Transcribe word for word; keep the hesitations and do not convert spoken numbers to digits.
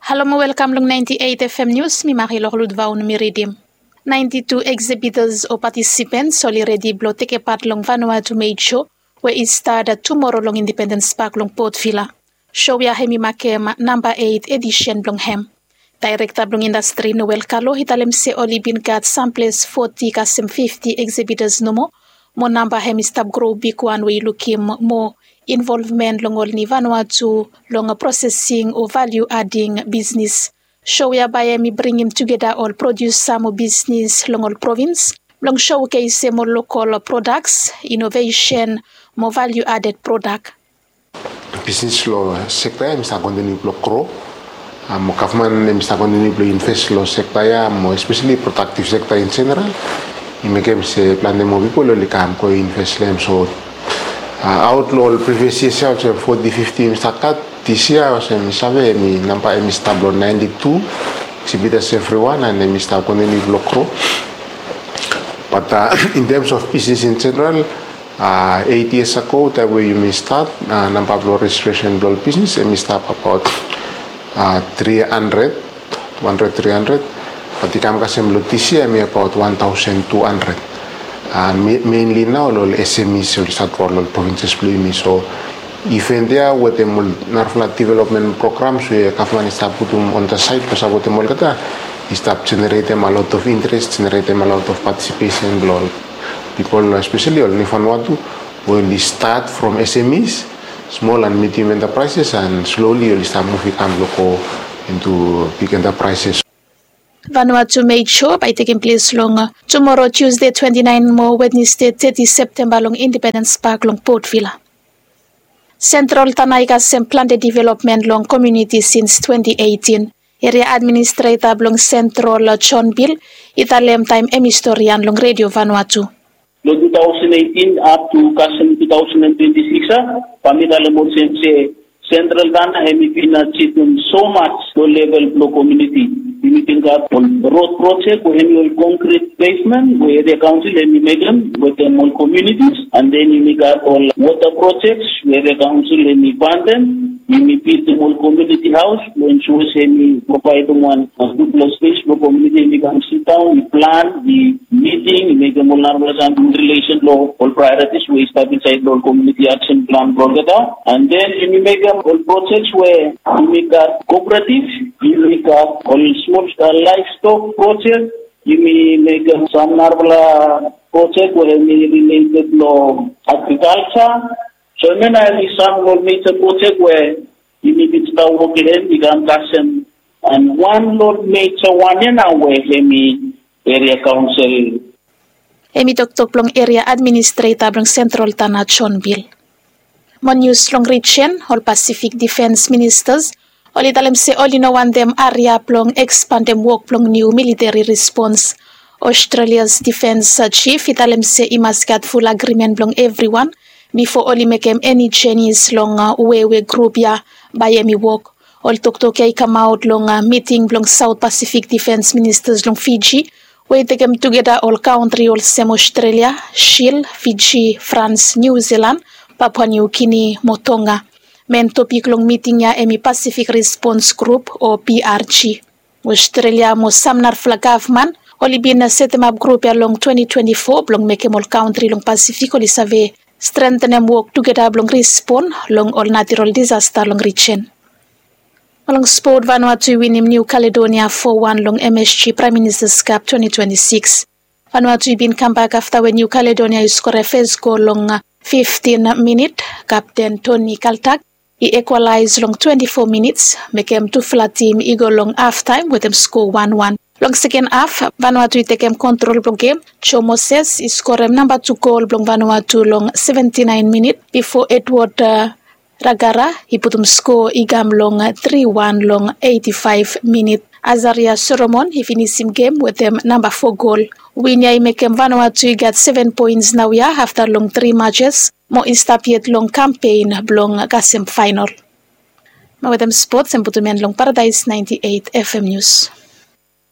Halo mo welkam long ninety eight F M News, mi Marie Lorlud Vaun mi ridim. Ninety two exhibitors o participants oli redi blong tekepat long Vanuatu Made Show we i stat tumoro long Independence Park long Port Vila. Show ya hem i makem namba eight edishen blong hem. Daerekta blong indastri Noel Kalo i talem se oli bin gat samples forty kasem fifty exhibitors nomo, mo namba hem i stap gro bigwan we i lukim moa involvmen long ol ni Vanuatu long prosesing o value adding bisnis. Show ya bae hem i bringim tugeta ol produsa mo bisnis long ol provins blong showcasem ol lokol products, innovation mo value added product. Bisnis long sekta ya hem i stap kontiniu blong gro. Mo gavman hem i stap kontiniu blong invest long sekta ya mo especially productive sekta in general. I mekem se plante moa pipol oli kam go invest long hem. So aot long ol previous years ya olsem forty fifty hem i stap gat, this year olsem mi save hem i namba hem i stap long ninety two exhibitors everyone and hem i stap kontiniu blong gro. But in terms of business in general, eight years ago taem we yumi stat, namba blong registration blong ol bisnis hem i stap abaot three hundred, two hundred, three hundred. Bat i kam kasem long this year hem i abaot one thousand two hundred. Mainly nao long ol S M Es oli stap long ol provinces blong yumi. So event ya wetem ol narafala development programs we gavman i stap putum on the side blong sapotem olgeta, i stap generatem a lot of interest, generatem a lot of participation blong ol pipol, especially ol ni Vanuatu we oli stat from S M Es, small and medium enterprises, and slowly oli stap muv i kam blong go into big enterprises. Vanuatu Made Show bae i tekem ples long tumoro Tuesday twenty nine mo Wednesday thirty Septemba long Independence Park long Port Vila. Central Tanna i kasem plante development long komuniti since twenty eighteen. Eria administreta blong Central John Bill i talem taem hem i storian long Redio Vanuatu. Long two thousand eighteen up to kasem two thousand and twenty six a, bae mi talem olsem se Central Tanna hem i bin achievem so much long level blong komuniti. Yumi bin gat ol rod projek we hem i ol konkret pavement we eria kaonsel hem i mekem wetem ol komunitis, and then yumi gat ol wota projek we eria kaonsel hem i fandem. Yumi bildim ol komuniti haos blong ensure se hem i provaedem wan gudfala spes blong komuniti hem i kam sidaon, i plan, i miting, i mekem ol narafala sam in relation long ol priorities we i stap insaed long ol community action plan blong olgeta. And then yumi mekem ol projek we yumi gat cooperative, yumi gat ol small scale livestock project, yumi mekem sam narafala projek we hem i related long agriculture. So hemia nao hem i sam long ol major projek we yumi bin stap wok long hem i kam kasem, and wan long ol major wan ya nao we hem i eria kaonsel. Hem i toktok blong eria administreta blong Central Tanna John Bill. Mo nius long rijen, ol Pasifik difens ministas oli talem se oli no wantem hariap blong ekspandem wok blong niu militeri respons. Australia's defense chief i talem se i mas gat ful agrimen blong evriwan bifo oli mekem eni jenis long we we grup ya bae hem i wok. Ol toktok ya i kamaot long miting blong South Pacific defense ministas long Fiji we i tekem tugeta ol kantri olsem Australia, Shil, Fiji, France, New Zealand, Papua New Guinea mo Tonga. Men topik long miting ya hem i Pacific Response Group o P R G. Australia mo sam narafala gavman oli bin setemap grup ya long twenty twenty four blong mekem ol kantri long Pasifik oli save strentenem wok tugeta blong respon long ol natural disasta long rijen. Mo long spot, Vanuatu i winim New Caledonia four one long M S G Prime Minister's Cup twenty twenty six. Vanuatu i bin kambak afta we New Caledonia i skorem fes gol long fiftin minit. Kapten Tony Kaltak i ekwalaes long twenty four minits, mekem tufala tim i go long haftaem wetem skoa wan wan. Long seken haf, Vanuatu i tekem kontrol blong gem. Joe Moses i skorem namba tu gol blong Vanuatu long seventy nine minit bifo Edward Ragara i putum skoa i kam long tri wan long eighty five minit. Azaria Solomon i finisim gem wetem namba foa gol. Win ya i mekem Vanuatu i gat seven poens naoia afta long tri majes mo i stap yet long kampen blong kasem faenol. Mo wetem spots, hemi putum en long Paradaes ninety eight F M News.